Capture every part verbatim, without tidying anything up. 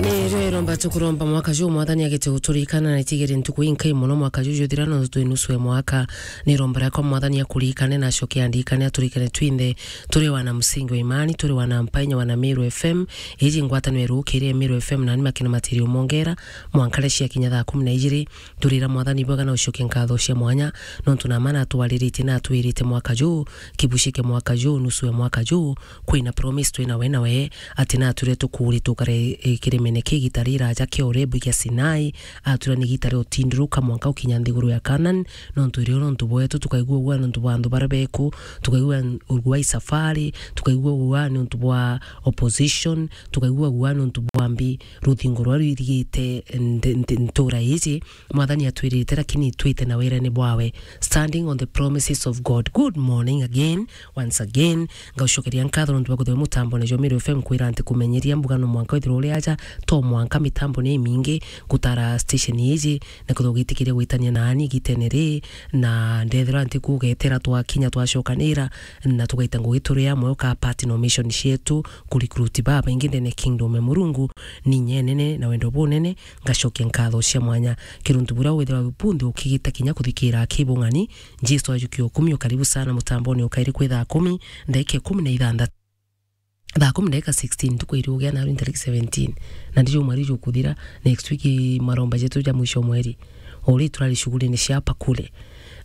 Ni rwero mba tukuromba mwaka juu Mwathani agite guturikana na itigere ntuku inkai mono mwaka juu juthira, nontu twi nusu ya mwaka. Ni romba riakwa Mwathani akurikane na acoke andikane, aturikane twinthe, turi wana msingi wa imani, turi wana mpainya, wana Meru F M. Iji ngwataniro irukirie Meru F M, nani makina matiri umongera, mwanka riria ciakinya thaa kumi na ijiri. Turira Mwathani bwega na ucoke nkatho cia mwanya, nontu na mana atwariritie na atwirite mwaka juu, kibucike mwaka juu, nusu ya mwaka juu, kwina promise twina we nawe, ati natwire tukuri tukare, eh, kirimene kia igita riraja kia Orebu kia Sinai, atwira ni igita ria utindiruka mwanka ukinya nthiguru ya Canaan, nontu irio nontu bwetu, tukaigua ugua nontu bwa antu baria beku, tukaigua ugua i safari, tukaigua ugua nontu bwa opposition, tukaigua ugua nontu bwa mbi ruthingo ruria rwirigite nde-, nde-, ntura iji. Mwathani atwirite, lakini twite na wirene bwawe. Standing on the promises of God. Good morning again, once again. Ngaucokeria nkatho nontu bwa kwithirwa mutambone jwa Meru F M kwira nti kumenyeria mbuga no mwanka withirwa uri aja, to mwanka mitambo ni imingi gutara station iji, na kwithirwa ugitikiria gwitania naani igitene ri, na ndethirwa nti kugetera twakinya twacokanira, na tugaita ngugi turi amwe uka part no mission cietu, ku recruit babaingi ndene kingdom ya Murungu, ni inya inene na wendo bunene, ngacokia nkatho cia mwanya. Kiruntu buria withirwa bunthe ukigita kinya kuthikira aki bung'ani, Jesu ajukia ukumi, ukaribu sana mutamboni ukairi kwi thaa kumi, ndagika ikumi na ithanthatu. Thaa kumi ndagika sixteen, ntuku iri ugia naru ntariki seventeen. Na ndijo mweri jukuthira, next week maromba jetu ja mwisho mweri. Uri turari shughulini cia hapa kule.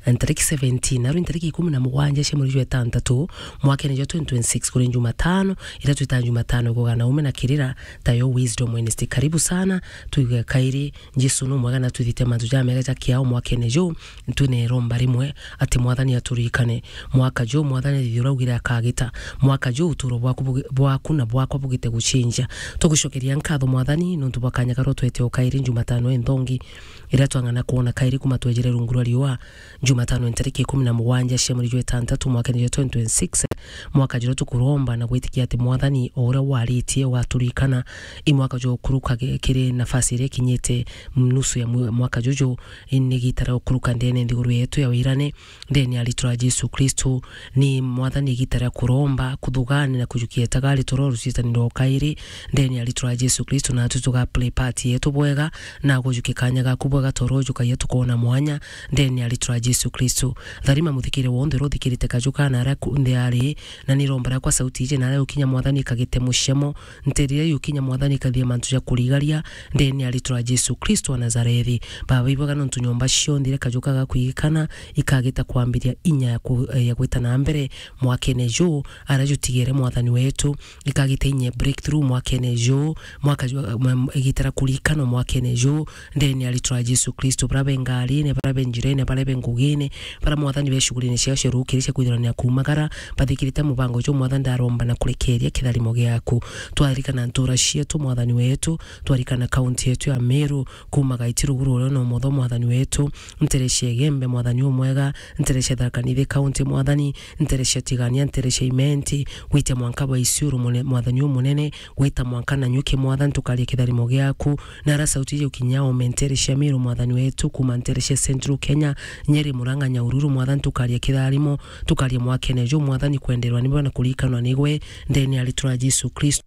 Ntariki seventeen, naru ntariki ikumi na mugwanja cia mweri jwa itantatu, mwakene jwa twenty twenty-six, kuri Jumatano, ira twita Jumatano ya kugana ume na kirira, tayo Wisdom Wednesday. Karibu sana, tuigue kairi, Jesu no mwega na twithite mantu jamega ja kiao mwakene ju, twine iromba rimwe, ati Mwathani aturikane. Mwaka ju, Mwathani thithia uraugire akagita. Mwaka ju, uturo bwaku bugi-, bwaku na bwakwa bugite gucinjia. Tugucokeria nkatho Mwathani, nontu bwa kanya karia utwete o kairi Jumatano inthongi. Iria twang'ana kwona kairi kuma twejire rungu rwa riua, Jumatano ntariki ikumi na mugwanja cia mweri jwa itantatu mwakene jwa twenty twenty-six, mwaka juria tukuromba na gwitikia ati Mwathani o uria waritie ugaturikana. I mwaka jwa ukuruka gi-, kiri nafasi iria ikinyite nusu ya mwe-, mwaka juju, i ni gita ria ukuruka ndene nthiguru yetu ya wirane, ndene ya ritwa ria Jesu Kristo. Ni Mwathani igita ria kuromba, kuthugani na kujukia etagari toro rucitaniro o kairi, ndene ya ritwa ria Jesu Kristo, natu tuga play part yetu bwega, na gujukia kanya gaku bwega toro jukagia tukona mwanya, ndene ya ritwa ria Jesu Kristo. Tharima muthikire wonthe uria uthikirite kaju kana aria ku-, nthi ari, na ni romba riakwa sauti iji na aria ukinya Mwathani ikagite mucemo, nterire yukinya Mwathani ikathie mantu ja kurigaria, ndene ya ritwa ria Jesu Kristo wa Nazarethi. Baba ibwega nontu nyomba cionthe iria kaju ka gakwigikana, ikagita kwambiria inya ya ku-, ya gwita na mbere mwakene ju, aria jutigere Mwathani wetu, ikagita inya breakthrough mwakene ju, mwaka ju, um, igitara kurikana mwakene ju, ndene ya ritwa ria Jesu Kristo, bara be ngarine, bara be njirene, bara be ngugine, bara Mwathani be shughulini ciao cia rukiri cia kwithirania kumagara, bathikirite mubango ju Mwathani ndaromba na kurekeria kitharimo giaku. Twarikana ntura cietu Mwathani wetu, twarikana kaunti yetu ya Meru, kuma Gaiti ruguru uria na umotho Mwathani wetu, nterecia Igembe Mwathani umwega, nterecia Tharaka Nithi County Mwathani, nterecia Tigania, nterecia Imenti, gwita mwanka bwa Isiuru mune-, Mwathani umunene, gwita mwanka Nanyuki Mwathani tukaria kitharimo giaku, na ara sauti iji ukinya ome nterecia Meru Mwathani wetu, kuma nterecia Central Kenya, Nyeri, Murang'a, Nyahururu Mwathani tukaria kitharimo, tukaria mwakene ju Mwathani kwenderwa nibwe na kurikanwa nigwe, ndene ya ritwa ria Jesu Kristo.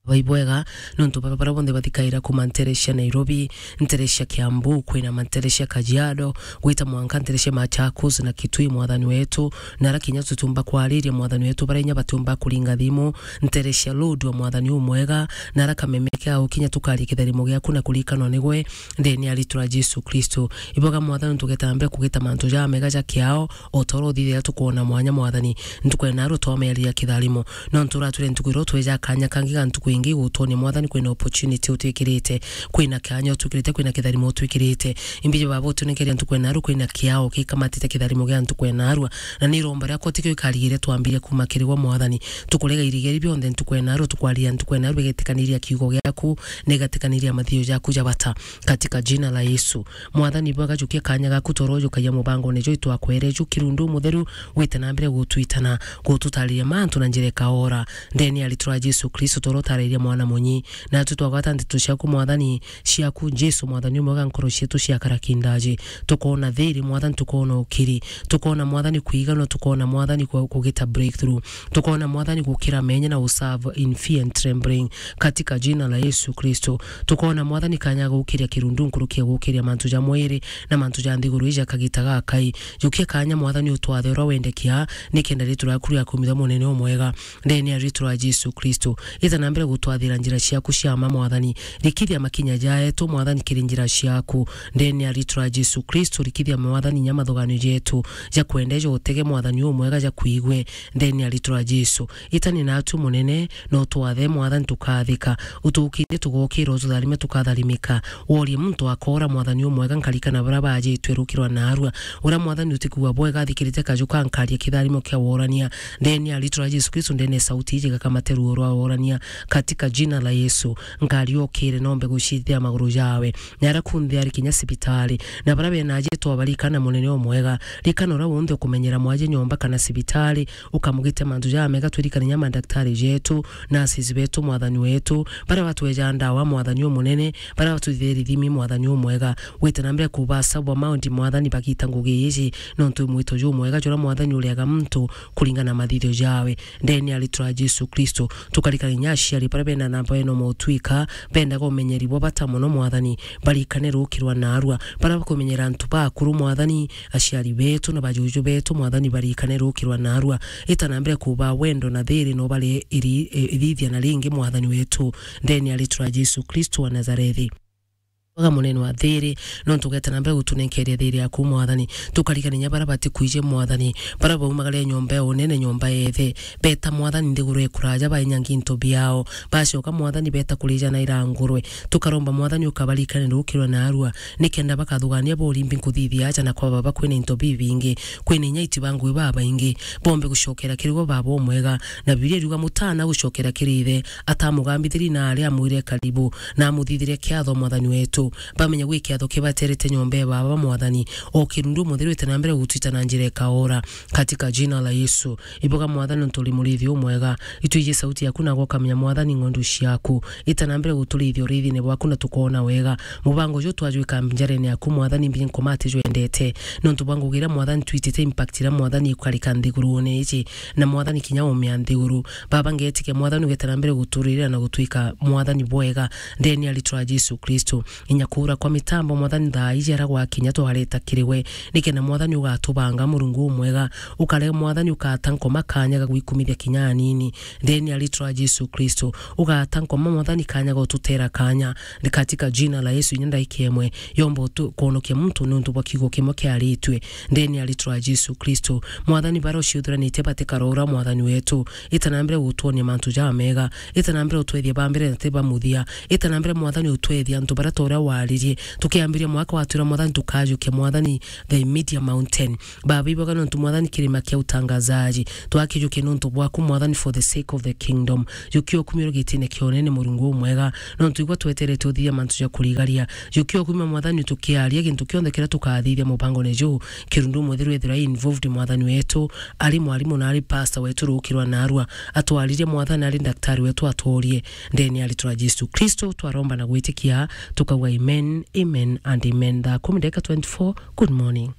Baba ibwega, nontu baba bara bonthe bathikaira kuma nterecia Nairobi, nterecia Kiambu, kwina manterecia Kajiado, gwita mwanka nterecia Machakos na Kitui Mwathani wetu, na ara kinya tutumba kwariria Mwathani wetu, bara inya batumba kuringa thimu, nterecia Lodwar Mwathani umwega, na ara kameme kiao kinya tukaria kitharimo giaku na kurikanwa nigwe, ndene ya ritwa ria Jesu Kristo. Ibwega Mwathani nontu ugetambia kugita mantu jamega ja kiao, o ta uria uthithia tukwona mwanya Mwathani, ntuku ya naru twameria kitharimo. Nontu uratwire ntuku iria utweja kanya kangi ga ntuku ingi igutwonia Mwathani kwina opportunity utwikirite, kwina kanya utwikirite, kwina kitharimo utwikirite. Imbiji Baba utunenkeria ntuku ya naru kwina kiao gikamatite kitharimo gia ntuku ya narua. Na ni iromba riakwa tikio ikarigire twambirie kuma kiri gwe Mwathani. Tukurega irigeri bionthe ntuku ya naru, tukwaria ntuku ya naru igetikaniria kiugo giaku, na igatikaniria mathio jaku ja bata. Katika jina la Yesu. Mwathani bwega jukia kanya gaku toro jukagia mubangone jwi twakwere ju kirundu mutheru gwite na mbere gutwitana, gututariria mantu na njira ikaora. Ndene ya ritwa ria Jesu Kristo toro tare ya mwana munyi. Natwi twagwata nteto ciaku, Mwathani, ciaku, Jesu, Mwathani umwega, nkoro cietu ciakara kindaji. Tukoona thiri, Mwathani, tukoona ukiri. Tukoona, Mwathani, kwiganwa, tukoona, Mwathani, ku-, kugita breakthrough. Tukoona, Mwathani, gukira menya na userve in fear and trembling. Katika jina la Yesu Kristo. Tukoona, Mwathani, kanya gukiria kirundu nkuruki ya gukiria mantu ja mwiri na mantu ja nthiguru ija kagita gakai. Jukia kanya, Mwathani, utwathe uria wendekia, nikenda ritwa riaku riakumithwa munene umwega. Ndene ya ritwa ria Jesu Kristo. Ita na mbere gutwathira njira ciaku cia ma, Mwathani. Rikithia makinya jaetu, Mwathani, kiri njira ciaku. Ndene ya ritwa ria Jesu Kristo, rikithia, Mwathani, nya mathuganio jetu ja kwenda ja utege, Mwathani, umwega ja kwigwe. Ndene ya ritwa ria Jesu. Itani natu munene, no twathe, Mwathani, tukathika. Utukirie tugokira, ututharime tukatharimika. Worie muntu akora, Mwathani, umwega, nkarikana bara bajitwe rukirwa narua. Uria, Mwathani, utikua bwega athikirite kaju ka nkaria kitharimo kia worania. Ndene ya ritwa ria Jesu Kristo, ndene sauti iji gakamate ruo rwa worania. Katika jina la Yesu, nkari okire nombe gucithia maguru jawe. Na ara kunthe ari kinya sibitari. Na bara bena aje twabarikana munene umwega. Rikana uria wonthe ukumenyera mwaje nyomba kana sibitari, ukamugite mantu jamega, twirikane nya madaktari jetu, nurses betu, Mwathani wetu, bara batweja ndawa, Mwathani umunene, bara batuthire rithimi, Mwathani umwega. Wite na mbere kubaca bwa maundi, Mwathani, bagita ngugi iji, nontu wi mwito jumwega, jura, Mwathani, uriaga muntu kuringana na mathithio jawe. Ndene ya ritwa ria Jesu Kristo, tukarikana nya aciari bara bena namba eno motwika, bendaga umenyeri bwa bata muno, Mwathani, barikane rukirwa narua, bara bakumenyera antu bakuru, Mwathani, aciari betu na bajuju betu, Mwathani, barikane rukirwa narua. Ita na mbere kuba wendo na thiri no bari iri-, i-, ithithia na ringi, Mwathani wetu, ndene ya ritwa ria Jesu Kristo wa Nazarethi. Waga munene wa thiri, nontu ugeta na mbere gutunenkeria thiri yaku, Mwathani. Tukarikania bara batikwije, Mwathani, bara baumagare nyomba ya unene, nyomba yethe. Beta, Mwathani, nthiguru ekuraja, bainyangi into biao. Bacoka, Mwathani, beta kurija na irangurwe. Tukaromba, Mwathani, ukabarikane rukirwa narua, nikenda bakathugania borimbi nkuthithia aja na kwa baba kwina into bibingi, kwina inya iti ba ngugi babaingi, bombe gucokera kiri we baba umwega. Na Bibilia iriuga, mutana gucokera kiri ithe, atamugambithiri na aria amwire karibu, na amuthithire kiatho, Mwathani wetu. Bamenye gwi kiatho kibaterete nyomba ya baba, Mwathani. O kirundu mutheru ite na mbere gutwita na njira ikaora, katika jina la Yesu. Iboga, Mwathani, nontu uri murithi umwega. Itwiji sauti yaku na gwakamenya, Mwathani, ng'ondu ciaku. Ita na mbere guturithia urithine bwaku na tukoona wega. Mubango uju twajwika njarene yaku, Mwathani, mbi nkomati jwendete. Nontu bwa ngugi iria, Mwathani, twitite impact iria, Mwathani, ikarika nthigurune iji. Na, Mwathani, kinya umia nthiguru. Baba, ngetikia, Mwathani, ugeta na mbere guturira na gutwika, Mwathani, bwega. Ndene ya ritwa ria Jesu Kristo. Inya kuura kwa mitambo, Mwathani, thaa iji ara gwakinya twareta kiri we. Nikenda, Mwathani, ugatubanga, Murungu umwega. Ukare, Mwathani, ukata nkoma kanya ga gwikumithia kinya anini. Ndene ya ritwa ria Jesu Kristo, ugata nkoma, Mwathani, kanya ga ututera kanya. Ni katika jina la Yesu, inya ndaika imwe, yomba utu-, kwonokia muntu niuntu bwa kiugo kimwe kiaritue. Ndene ya ritwa ria Jesu Kristo, Mwathani, bara uciuthuranitie batikarora, Mwathani wetu. Ita na mbere gutwonia mantu jamega. Ita na mbere utwethie ba mbere na ti ba muthia. Ita na mbere, Mwathani, utwethie antu bara ta uria waririe. Tukiambiria mwaka watwira, Mwathani, tukajukia, Mwathani, the media mountain. Baba, iboga nontu, Mwathani, kirima kia utangazaji. Twakijukia nontu bwaku, Mwathani, for the sake of the kingdom. Jukia ukumio gitine kia unene, Murungu umwega. Nontu igwa tweterete uthithia mantu ja kurigaria. Jukia ukumio, Mwathani, tukiaria gintu kionthe kiria tukathithia mubangone juu. Kirundu mutheru ethirwa involved, Mwathani wetu. Ari mwarimu na ari pastor wetu rukirwa narua. Atwaririe, Mwathani, ari daktari wetu, atworie. Ndene ya ritwa ria Jesu Kristo, twaromba na gwitikia, tukauga amen, amen and amen. Thaa kumi ndagika twenty-four. Good morning.